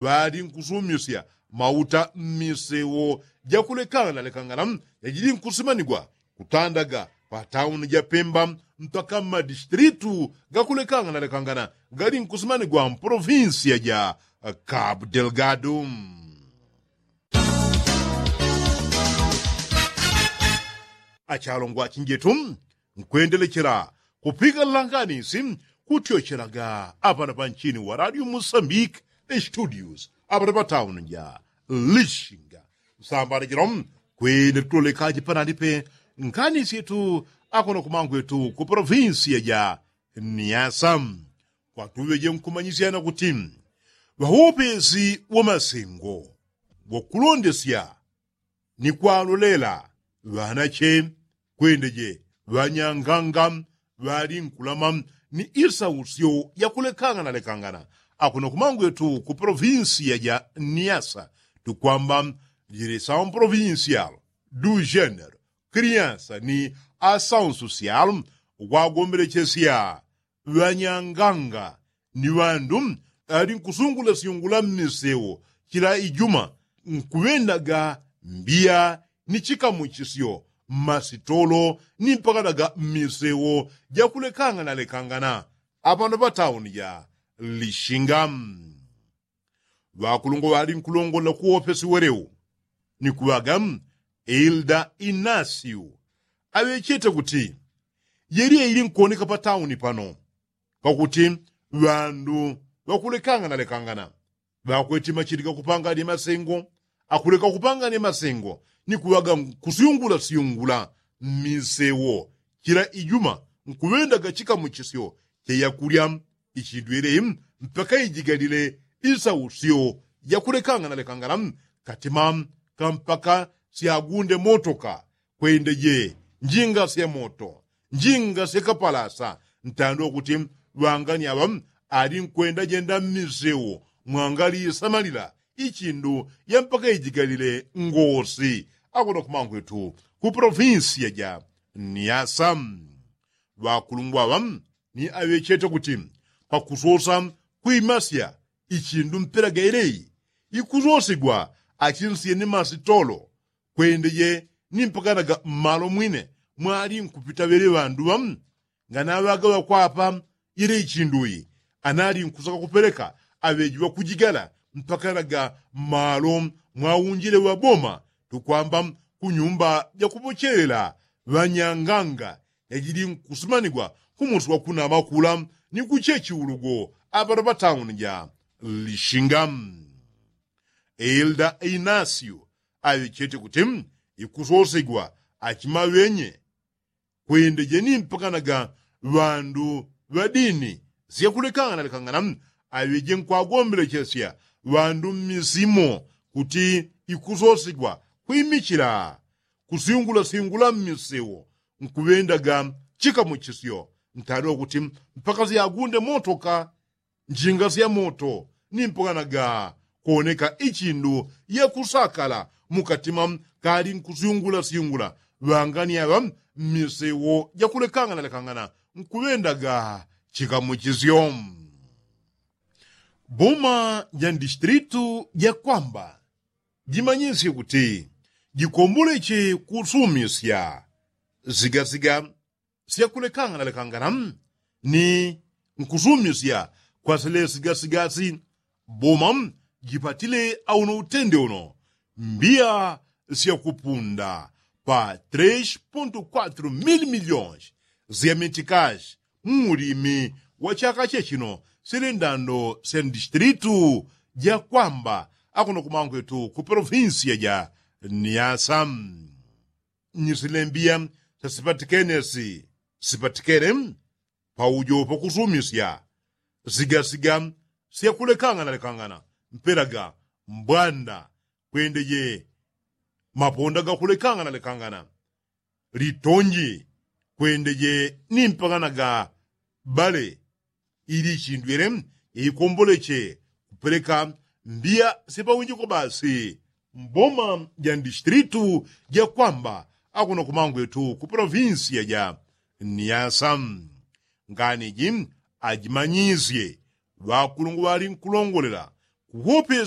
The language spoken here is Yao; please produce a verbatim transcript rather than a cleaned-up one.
ŵali nkusumisya mauta mmisewo jakulekangana lekangana yajili nkusimanigwa kutandaga pa tauni ja pemba mpaka mmadistilitu gakulekangana lekangana gali nkusimanigwa mpolovinsiya ja kabu delgado. Achalongwa chinjetu nkwendelechela kupika langanisi kutyochelaga apana panchini wa radio musambiki studios apana patauni ja lishinga nsambala jilo kwene tulolekaji panalipe nganisi yetu akono kumangwetu ku polovinsiya ja niasa. Kwatuŵeje nkumanyisyana kuti ŵaopesi wa masengo wakulondesya ni kwalolela ŵanache kwendeje ŵanyanganga ŵali nkulama ni isausyo yakulekangana lekangana akuno kumangwetu ku polovinsiya ja niasa tukwamba jili saun polovinsial du genero kriansa ni asaun sosial ukwagombelechesya ŵanyanganga ni ŵandu ali nkusungulasyungula mmisewo chila ijuma nkuŵendaga mbiya ni chikamuchisyo mmasitolo ni mpakanaga mmisewo jakulekangana lekangana apano patauni ja lishinga. Ŵakulungwa ŵali nkulongolela kuwopesi welewo ni kuŵaga ilda inasiu aŵechete kuti yeliya ili nkuwoneka patauni pano pakuti ŵandu ŵakulekangana lekangana ŵakweti machili gakupangania masengo akuleka kupangania masengo ni kuŵaga nkusyungulasyungula mmisewo chila ijuma nkuŵendaga chikamuchisyo cha yakulya ichindwele mpaka ijigalile isausyo jakulekangana lekangana katima kampaka syagunde motoka kwendeje njinga sya moto njinga sya kapalasa ntandwa kuti ŵangani aŵa ali nkwendajenda mmisewo mwangalisamalila ichindu ya mpaka ijigalile ngosi akona kumangwetu ku polovinsiya ja niasa. Ŵakulungwa aŵa ni aŵechete kuti pakusosa kwimasya ichindu mpela gaeleyi ikusosigwa achinsiye ni masitolo kwendeje ni mpakanaga mmalo mwine mwali nkupita ŵele ŵandu ŵa nganaŵaga ŵakwapa ile ichinduyi anali nkusaka kupeleka aŵeji ŵakujigala mpakanaga mmalo mwaunjile ŵaboma tukwamba kunyumba jakupochelela ŵanyanganga yajili nkusimanigwa kumusi wakunama kula ni kuchechi ulugo apano patauni ja lishinga. Elda inasio aŵechete kuti ikusosegwa achimaŵenye kwendeje ni mpakanaga ŵandu ŵadini syakulekangana lekangana aŵeje nkwagombelechesya ŵandu mmisimo kuti ikusosigwa kwimichila kusyungulasyungula mmisewo nkuŵendaga chikamuchisyo ntadwa kuti mpaka syagunde motoka njinga sya moto ni mpanganaga kwoneka ichindu yakusakala mukatima kali nkusyungulasyungula ŵangani aŵa mmisewo jakulekangana lekangana nkuŵendaga chikamuchisyo. Boma ja ndistilitu jakwamba jimanyisye kuti jikomboleche kusumisya sigasiga syakulekangana lekangana ni nkusumisya kwa silesigasigasi boma jipatile auno utende uno mbiya syakupunda pa tres ponto kwatro mil milyons sya mitikashi muulimi wa chaka chechino sili ndando sya ndistilitu jakwamba akuno kumangwetu ku polovinsiya ja niasa. Ni silembiya syasipatikene si sipatikene paujo pakusumisya sigasiga syakulekangana lekangana mpelaga mbwanda kwendeje maponda gakulekangana lekangana litonji kwendeje ni mpanganaga bale ili ichindwele yaikomboleche kupeleka mbiya syapawinjiko basi mboma ja ndistilitu jakwamba akuno kumangwetu ku polovinsiya ja niasa. Nganiji ajimanyisye ŵakulungwa ŵali nkulongolela Whoop his